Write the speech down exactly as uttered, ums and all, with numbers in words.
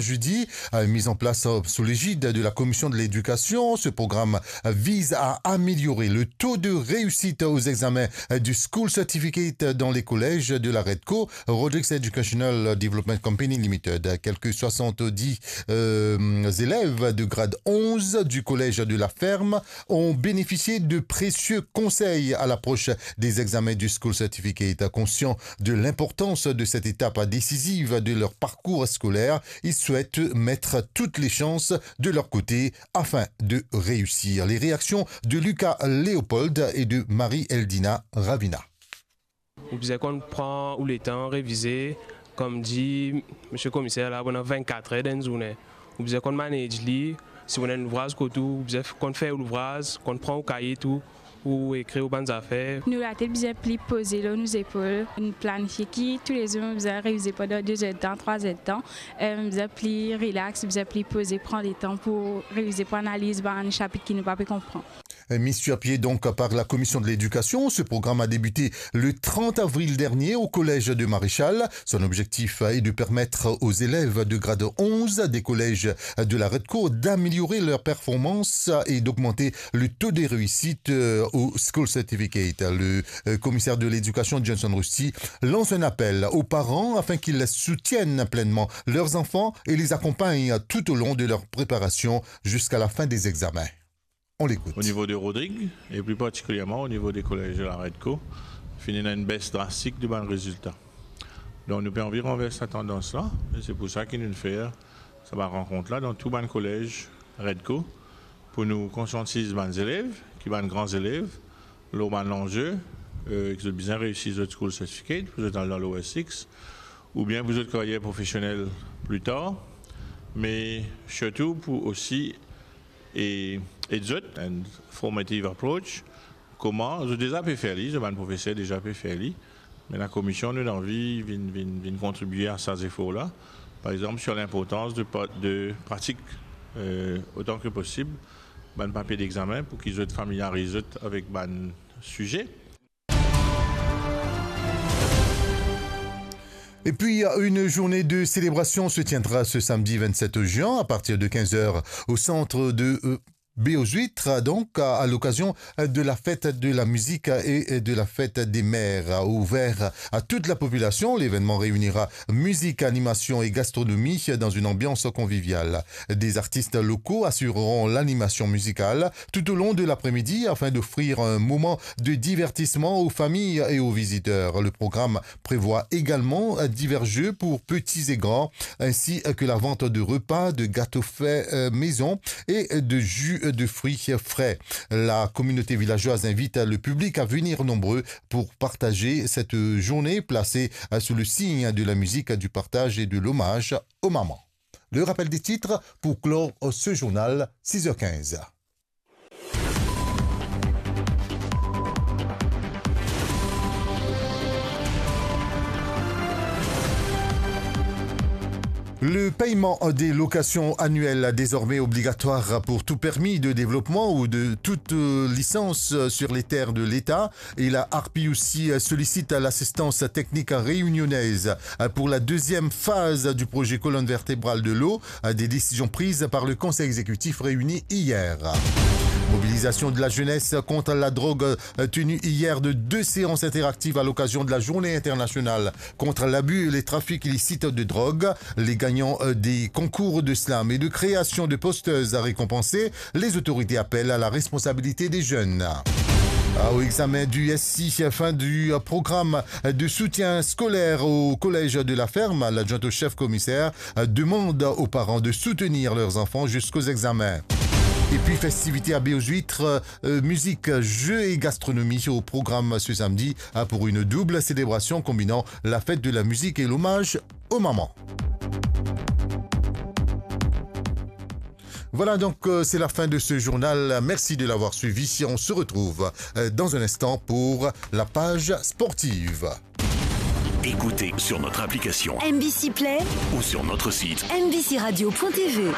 jeudi, euh, mis en place, euh, sous l'égide de la Commission de l'Éducation. Ce programme, euh, vise à améliorer le taux de réussite aux examens, euh, du School Certificate dans les collèges de la Redco, Rodrigues Educational Development Company Limited. Quelques soixante-dix, euh, élèves de grade onze du collège de la Ferme ont bénéficié de précieux conseils à l'approche des examens du School Certificate. Conscients de l'importance de cette étape décisive de leur parcours scolaire, ils souhaitent mettre toutes les chances de leur côté afin de réussir. Les réactions de Lucas Léopold et de Marie-Eldina Ravina. Ou bizin konn pran ou letan revize, kouma dir misie komiser la, pandan vennkat er dan enn zourne. Ou bizin konn manage li, si ou ena enn louvraz kot ou, ou bizin f-, konn fer ou louvraz, konn pran ou kaye tou, ou ekrir ou bann zafer. Nou latet bizin pli poze lor nou zepol, nou planifie ki toulezour nou bizin revize pandan de zer de tan, trwa zer de tan, eh, bizin pli relax, bizin pli poze, pran letan pou revize, pou analiz bann sapit ki nou pa pe konpran. Mis sur pied donc par la Commission de l'Éducation, ce programme a débuté le trente avril dernier au collège de Maréchal. Son objectif est de permettre aux élèves de grade onze des collèges de la Redco d'améliorer leur performance et d'augmenter le taux de réussite, euh, au School Certificate. Le, euh, commissaire de l'éducation, Johnson Rusty, lance un appel aux parents afin qu'ils soutiennent pleinement leurs enfants et les accompagnent tout au long de leur préparation jusqu'à la fin des examens. On l'écoute. Au niveau de Rodrigues, et plus particulièrement au niveau des collèges de la Redco, finn ena enn bes drastik de bann rezilta. Donk nou pe anvi ranvers sa tandans la, e se pou sa ki nou fer sa bann rankont la dan tou bann kolez Redco, pou nou konsiantiz bann zelev, ki bann gran zelev, lor bann lanze, euh, ki zot bizin reisi zot school certificate, pou zot al dan lower six, oubien pou zot karyer profesionel pli tar, me sirtou pou osi e, ed zot, enn formative approach, kouma, zot deza pe fer li, zot bann profeser deza pe fer li, me lakomision, nou anvi vinn, vinn, vinn kontribie a sa zefor la. Par exanp, sur linportans de pa-, de pratik, euh, otan ki posib, bann papie dexamen, pou ki zot familyariz zot avek bann size. Et puis, une journée de célébration se tiendra ce samedi vingt-sept juin à partir de quinze heures au centre de, euh, Baie aux Huîtres, donc à, à l'occasion de la fête de la musique et de la fête des mères, ouvert à toute la population. L'événement réunira musique, animation et gastronomie dans une ambiance conviviale. Des artistes locaux assureront l'animation musicale tout au long de l'après-midi afin d'offrir un moment de divertissement aux familles et aux visiteurs. Le programme prévoit également divers jeux pour petits et grands, ainsi que la vente de repas, de gâteaux faits, euh, maison et de jus de fruits frais. La communauté villageoise invite le public à venir nombreux pour partager cette journée placée sous le signe de la musique, du partage et de l'hommage aux mamans. Le rappel des titres pour clore ce journal, six heures quinze. Le paiement des locations annuelles, désormais obligatoire pour tout permis de développement ou de toute, euh, licence sur les terres de l'État. Et la ARPI aussi, euh, sollicite l'assistance technique réunionnaise, euh, pour la deuxième phase du projet colonne vertébrale de l'eau, euh, des décisions prises par le Conseil exécutif réuni hier. Mobilisation de la jeunesse contre la drogue, euh, tenue hier de deux séances interactives à l'occasion de la Journée internationale contre l'abus et les trafics illicites de drogue. Les gagnants, euh, des concours de slam et de création de posters à récompenser. Les autorités appellent à la responsabilité des jeunes. Ah, au examen du S I, fin du, euh, programme de soutien scolaire au collège de la Ferme. L'adjoint au chef commissaire, euh, demande aux parents de soutenir leurs enfants jusqu'aux examens. Et puis, festivités à Baie aux Huîtres, euh, musique, jeux et gastronomie au programme ce samedi, euh, pour une double célébration combinant la fête de la musique et l'hommage aux mamans. Voilà donc, euh, c'est la fin de ce journal. Merci de l'avoir suivi. On se retrouve, euh, dans un instant pour la page sportive. Écoutez sur notre application M B C Play ou sur notre site M B C radio point T V.